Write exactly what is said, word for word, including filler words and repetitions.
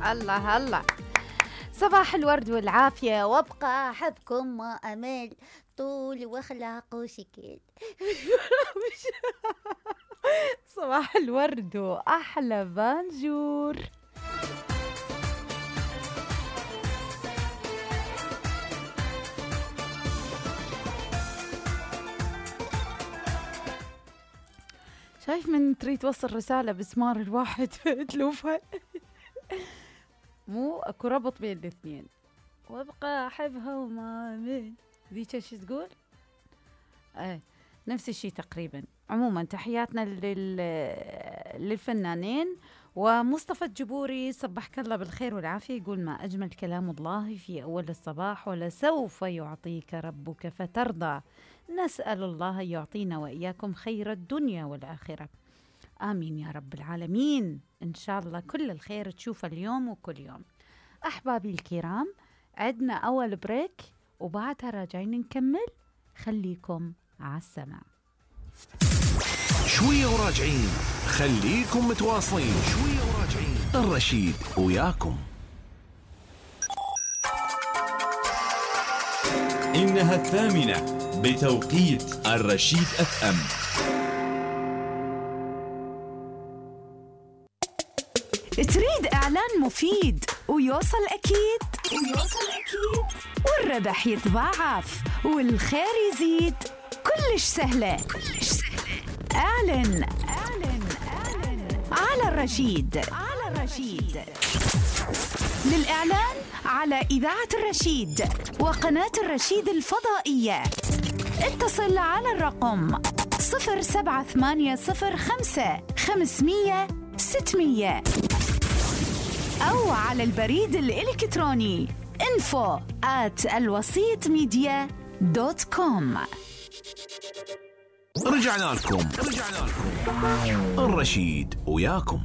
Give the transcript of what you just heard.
الله الله. صباح الورد والعافية، وابقى أحبكم ما أمل، طول واخلاق وشكل. صباح الورد وأحلى بانجور. شايف من تريد توصل رسالة بسمار الواحد تلوفها. مو اكو ربط بين الاثنين. وابقى احبها وما من ذيك ايش تقول؟ ايه نفس الشيء تقريبا. عموما تحياتنا لل... للفنانين. ومصطفى الجبوري صبحك الله بالخير والعافية، يقول ما أجمل كلام الله في أول الصباح، ولسوف يعطيك ربك فترضى. نسأل الله يعطينا وإياكم خير الدنيا والآخرة، آمين يا رب العالمين. إن شاء الله كل الخير تشوفه اليوم وكل يوم. أحبابي الكرام، عدنا أول بريك وبعدها راجعين نكمل، خليكم على السماع. شوية وراجعين، خليكم متواصلين. شوية وراجعين، الرشيد وياكم. إنها الثامنة بتوقيت الرشيد اف ام. تريد إعلان مفيد ويوصل أكيد ويوصل أكيد والربح يتضاعف والخير يزيد، كلش سهلة كلش سهلة. اعلن اعلن اعلن على الرشيد على الرشيد. للإعلان على إذاعة الرشيد وقناة الرشيد الفضائية اتصل على الرقم صفر سبعة ثمانية صفر خمسة خمسمية ستمية أو على البريد الإلكتروني info at الوسيط ميديا دوت كوم. رجعنا لكم رجعنا لكم الرشيد وياكم.